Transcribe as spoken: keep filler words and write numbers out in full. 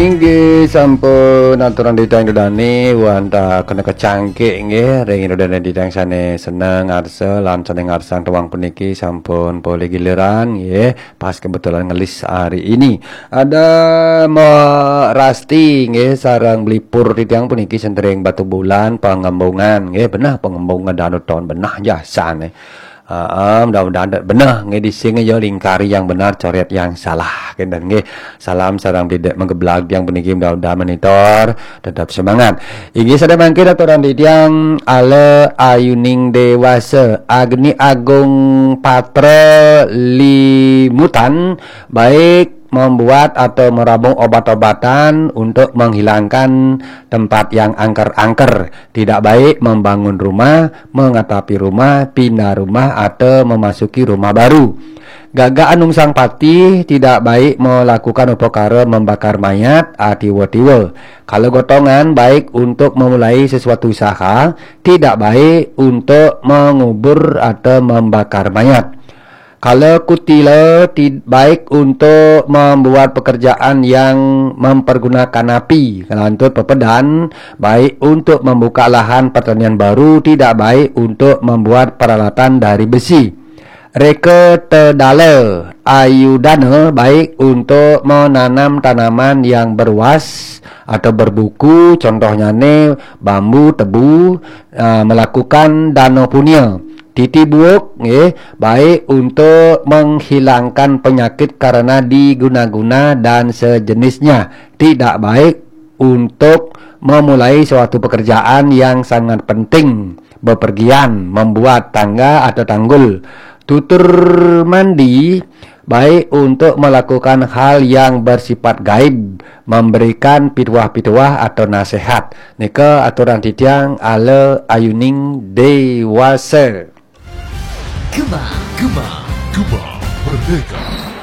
Inggih sampun aturang titiang Ida Dane wantah kena kecangkik nggih ring Ida Dane titiang sane seneng ngarsa lan sane ngarsang tembang puniki sampun polih giliran nggih pas kebetulan ngelis hari ini. Ada Mbok Rasti nggih sareng Blipur titiang puniki sentering Batubulan Pangembungan nggih benah Pangembungan Danau Town benah jasane. Heeh, mudah-mudahan dak beneh nggih dising ya lingkari yang benar coret yang salah kenten nggih. Salam sareng Bidek Menggeblag yang puniki mudah-mudahan monitor tetap semangat. Inggih sada mangke aturang titiang Ale Ayuning Dewasa Agni Agung Patra Limutan baik membuat atau merabung obat-obatan untuk menghilangkan tempat yang angker-angker. Tidak baik membangun rumah, mengatapi rumah, pindah rumah atau memasuki rumah baru. Gagak Anung Sang Patih tidak baik melakukan upakara membakar mayat atiwa-tiwa. Kalau gotongan baik untuk memulai sesuatu usaha, tidak baik untuk mengubur atau membakar mayat. Kalau kutila ti- baik untuk membuat pekerjaan yang mempergunakan api, kalau antud pepedan baik untuk membuka lahan pertanian baru, tidak baik untuk membuat peralatan dari besi. Reka tedala ayudana baik untuk menanam tanaman yang berwas atau berbuku, contohnya ni bambu, tebu, uh, melakukan dana punya. Titi buuk nggih baik untuk menghilangkan penyakit karena diguna-guna dan sejenisnya. Tidak baik untuk memulai suatu pekerjaan yang sangat penting, bepergian, membuat tangga atau tanggul. Tutur mandi baik untuk melakukan hal yang bersifat gaib, memberikan pituah-pituah atau nasihat. Nika aturang titiang Ale Ayuning Dewasa. Gema, gema, gema merdeka.